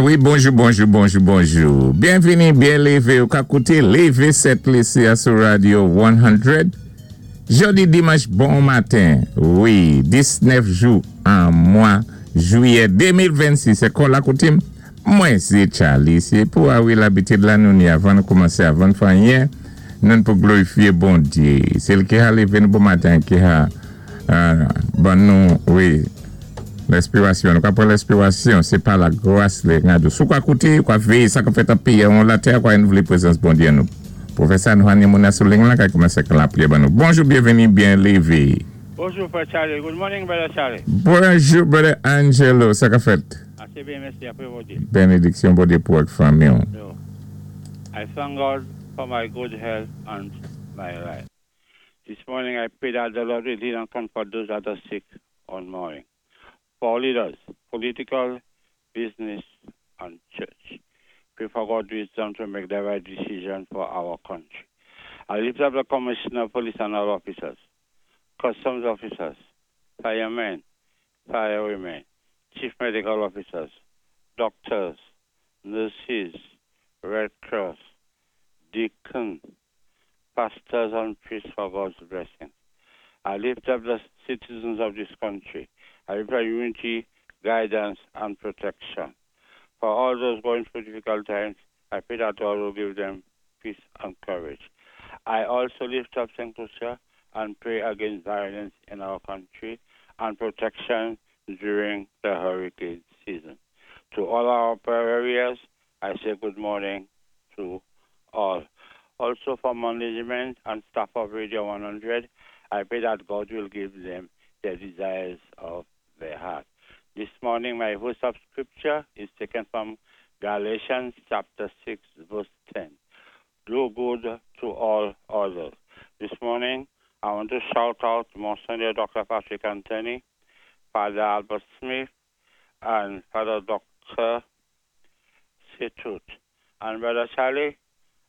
Wi, bonjou, bonjou, bonjou, bonjou. Byenvini, byen lévé. Ou ka kouté Lévé Sent Lisi a sou Radio 100. Jòdi dimanch bon maten. Wi, 19 jou an mwa jwiyè 2026. É kò la koutim? Mwen sé Charlie. Sé pou a wi labitid la nou ni avan nou koumansé, avan nou fè anyen, nou pou glorifyé Bondyé. Sé li ki ha lévé nou bon maten, ki ha ban nou, wi, lèspirasyon. Nou ka pran lèspirasyon, sé pa la gras li nga dou. Si ou ka kouté, ou ka véyé sa ka fèt an péyi an latè, kwa nou vlé prezans Bondyé nou. Pou fè sa, nou ha ni moun nan sou liy la ka koumansé ak lapriyè ban nou. Bonjou, byenvini, byen lévé. Bonjou, frè Charlie. Good morning, brother Charlie. Bonjou, brother Angelo. Sa ka fèt? Asé byen, mèsi, apwé Bondyé. Benediksyon Bondyé pou ak fanmi. So, I thank God for my good health and my life. This morning I pray that the Lord will heal and comfort those that are sick on morning. For leaders, political, business, and church. Pray for God's wisdom to make the right decision for our country. I lift up the commissioner of police and all officers, customs officers, firemen, firewomen, chief medical officers, doctors, nurses, Red Cross, deacon, pastors and priests for God's blessing. I lift up the citizens of this country. I lift up unity, guidance, and protection. For all those going through difficult times, I pray that God will give them peace and courage. I also lift up St. Lucia and pray against violence in our country and protection during the hurricane season. To all our prayer areas, I say good morning to all. Also for management and staff of Radio 100, I pray that God will give them the desires of their heart. This morning, my verse of scripture is taken from Galatians chapter 6, verse 10. Do good to all others. This morning, I want to shout out Monsignor Dr. Patrick Anthony, Father Albert Smith, and Father Dr. Situt. And Brother Charlie,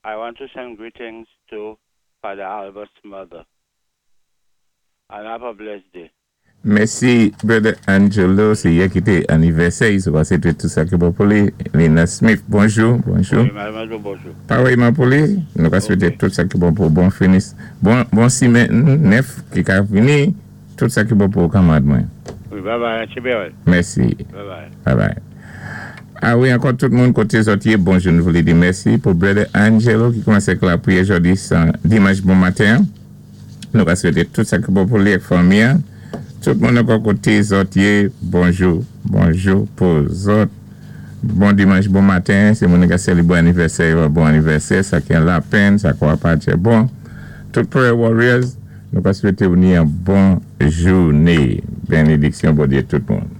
I want to send greetings to Father Albert's mother. And have a blessed day. Mèsi, brother Angelo. Sé yè ki té anivèsè, so pa swété tout sa ki bon pou li. Lina Smith, bonjou, bonjou. Wi, madam, bonjou. Parèyman pou li, nou ka swété tout sa ki bon pou bon finis. Bon simenn nèf ki ka vini, tout sa ki bon pou kanmarad mwen. Wi, bye bye, Chibel. Mèsi. Bye bye. Bye bye. A wi, ankò tout moun koté zòt yé, bonjou. Nou vlé di mèsi pou brother Angelo ki koumansé ak lapriyè jòdi san dimanch bon maten. Nou ka swété tout sa ki bon pou li ak fanmi an. Tout moun ankò koté zòt yé, bonjou, bonjou pou zòt. Bon dimanch, bon maten. Si moun ka sélébwé anivèsè yo, bon anivèsè. Sa ki an lapenn, sa kwa pa bon. Tout prayer warriors, nou ka swété ou ni yon bon jouné. Benediksyon Bondyé tout moun.